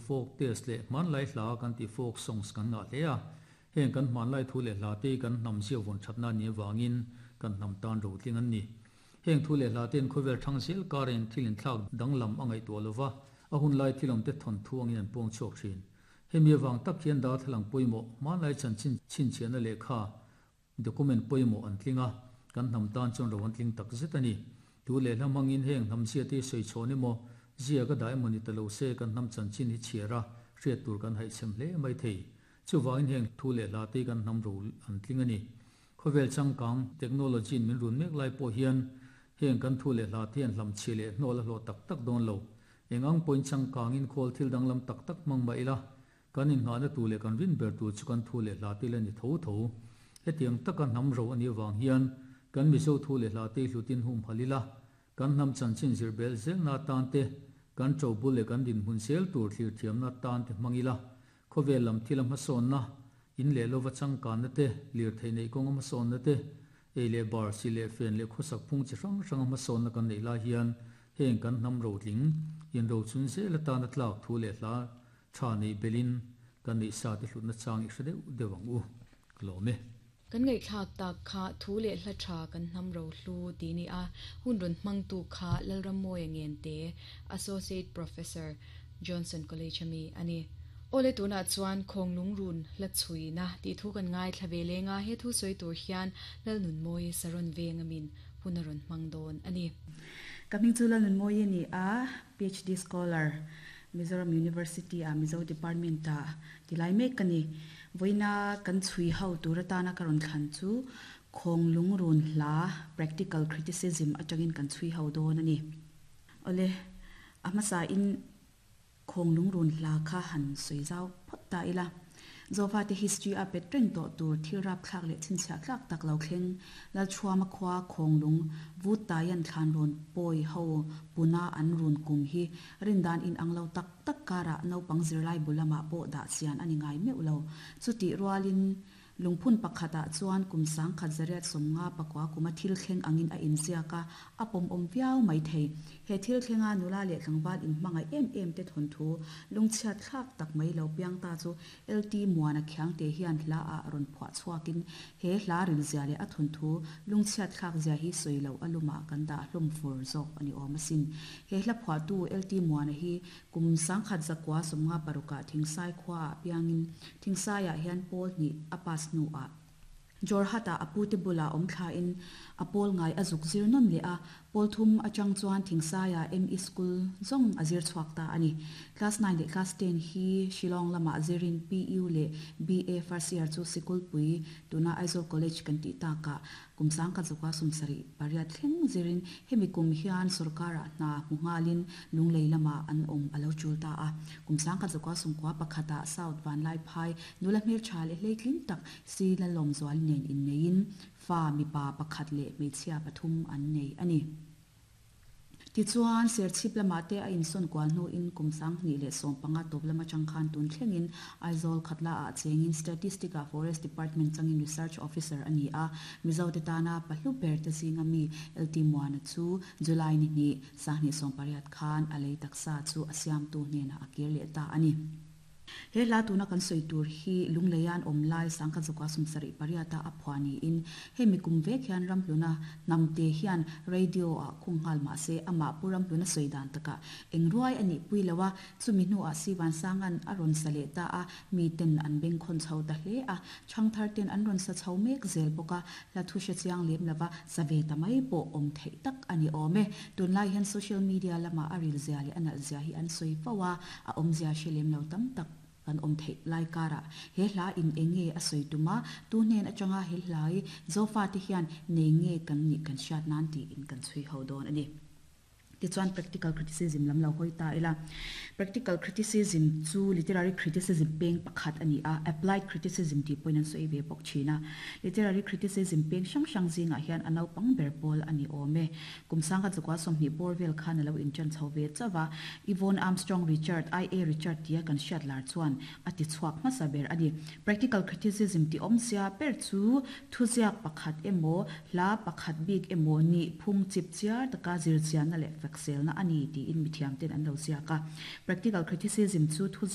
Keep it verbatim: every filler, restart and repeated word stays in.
Folk tales leh hmanlai hla kan tih folk songs kan ngah hle a. Heng kan hmanlai thu leh hla te kan hnam zia vawn thatna ni avangin kan hnam tan ro tling an ni. Heng thu leh hla ten khawvel thang zel karin thil inthlak danglam a ngaihtuah lova, a hun lai thilawm te thawn thu angin an puang chhuak thin. Hemi avang tak hian darthlalang pawimawh hmanlai chanchin chhinchhiahna lehkha document pawimawh an tling a, kan hnam tan chuan ro an tling tak zet a ni. Thu leh hla hmangin heng hnam zia te sawi chhawn emaw, zia ka dah emaw ni ta lo se kan hnam chanchin hi chhiar a, hriat tur kan haihchhem hle mai thei. Chuvangin heng thu leh hla te kan hnam ro an tling a ni. Khawvel changkang technology in min run mek lai pawh hian heng kan thu leh hla te hian hlam chhi leh hnawl a hlawh tak tak dawn lo. Eng ang pawhin changkangin khawl thil danglam tak tak hmang mah ila, kan innghahna tur leh kan rin ber tur chu kan thu leh hla te la ni tho tho. Hetiang taka hnam ro a nih avang hian kan Mizo thu leh hla te hlutin hum hal ila, kan hnam chanchin zir bel zelna atan te, kan to bul leh kan dinhmun zel tur thlir thiamna atan te hmang ila, khawvel lam thil a hmasawnna, in leh lova changkanna te, lirthei neih kawng a hmasawnna te, ei leh bar si leh fen leh khawsak phung chi hrang hrang a hmasawnna kan neih lai hian heng kan hnam ro tling in ro chun zel atan a tlak thu leh hla tha nei belin kan neih sa te hlutna chang i hre deuh deuh ang u. Ka lawm e. Kan ngaihthlak tak kha thu leh hla tha kan hnam ro hlu ti ni a, hun rawn hmangtu kha Lalrammawia Ngente, Associate Professor, Johnson College ami a ni. Awle tunah chuan Khawnglungrun hla chhuina tih thu kan ngaithla ve leng a, he thu sawi tur hian Lalnunmawii Saron veng amin hun a rawn hmang dawn a ni. Ka hming chu Lalnunmawii a ni a, PhD scholar, Mizoram University ah Mizo Department ah tilai mek ka ni. Vawiina kan chhui ho tur atana ka rawn thlan chu Khawnglungrun hla Practical Criticism atangin kan chhui ho dawn a ni. Awle, a hmasa in Khawnglungrun hla kha han sawi zau phawt ta ila. Zofate history a pet reng tawh tur thil rapthlak leh chhinchhiah tlak tak lo thleng Lalchhuama khua Khawnglung vut taian thlan rawn pawi ho puna an run kum hi rindan in ang lo tak tak karah naupang zirlai bu lamah pawh dah chian a ni ngai meuh lo. Chutih rualin Lungphun pakhatah chuan kum sangkhat zariat sawmnga pakua kuma thil thleng angin a inziak a, a pawmawm viau mai thei. He thil thlenga nula leh tlangval inhmangaih em em te thawnthu lungchhiat thlak tak mai lo piang ta chu LT Muana Khiangte hian hla ah rawn phuah chhuakin he hla rilzia leh a thawnthu lungchhiat thlak zia hi sawi loh a lumah kan dah hlawm fur zawk a ni awm asin. He hla phuahtu LT Muana hi kum sangkhat zakua sawmnga parukah Thingsai khuaah piangin Thingsaiah hian pawl hnih a pass hnuah Jorhat-ah a pute bulah awm thlain a pawl ngai a zuk zir nawn leh a, pawl thum atang chuan Thingsaiah ME School zawng a zir chhuak ta a ni. Class nine leh Class ten hi Shillong lamah zirin PU leh BA first year chu Sikulpui, tuna Aizawl College kan tih takah Kum sangkhat zawka sawmsarih pariat thleng zirin hemi kum hian sorkarah hna hmu nghalin Lunglei lamah an awm a lo tul ta a. Kum sangkhat zawka sawmkua pakhatah South Vanlaiphai nula hmeltha leh hleitling tak si Lalawmzuali nen inneiin fa mipa pakhat leh hmeichhia pathum an nei a ni. Tichuan, Serchhip lamah te a insawn kual hnuin kum sanghnih leh sawm panga tawp lam atang khan tun thlengin Aizawl Khatlaah chengin Statistic-ah Forest Department changin Research Officer a ni a, Mizote tana pahlu ber te zinga mi LT Muana chu July ni hnih, sanghnih sawm pariat khan a lei taksa chu a siamtu hnenah a kir leh ta a ni. He hla tuna kan sawi tur hi Lungleian awm lai sangkhat zawka sawmsarih pariata a phuah niin hemi kum vek hian Ramhluna hnamte hian radio ah khung nghal mah se amah Pu Ramhluna sawi dan takah eng ruai a nih pui lo a, chumi hnuah Sivansanga'n a rawn sa leh ta a, miten an bengkhawn chho ta hle a, chhangthar ten an rawn sa chho mek zel bawk a, hla thu hre chiang lem lova sa ve ta mai pawh awm theih tak a ni awm e. Tunlai hian social media lamah a ril zia leh a nalh zia hi an sawi fo a, a awmzia hre lem lo tam tak kan awm theih lai karah he hla in eng nge a sawi tum a, tu hnen atanga he hlai Zofate hian nei nge kan nih kan hriat nan tiin kan chhui ho dawn a ni. Tichuan practical criticism lam lo hawi ta ila. Practical criticism chu literary criticism peng pakhat a ni a, applied criticism tih pawhin an sawi ve bawk thin a. Literary criticism peng hrang hrang zingah hian a naupang ber pawl a ni awm e. Kum sangkhat zakua sawmhnih bawr vel khan a lo inṭan chho ve chauh a, Yvonne Armstrong Richard, I A Richard tia kan hriat lar chuan a ti chhuak hmasa ber a ni. Practical criticism tih awmzia ber chu thuziak pakhat emaw, hla pakhat bik emaw nih phung chip chiar taka zirchianna leh fakselna a ni tiin mithiamten an lo ziak a. Practical criticism chu thuziak.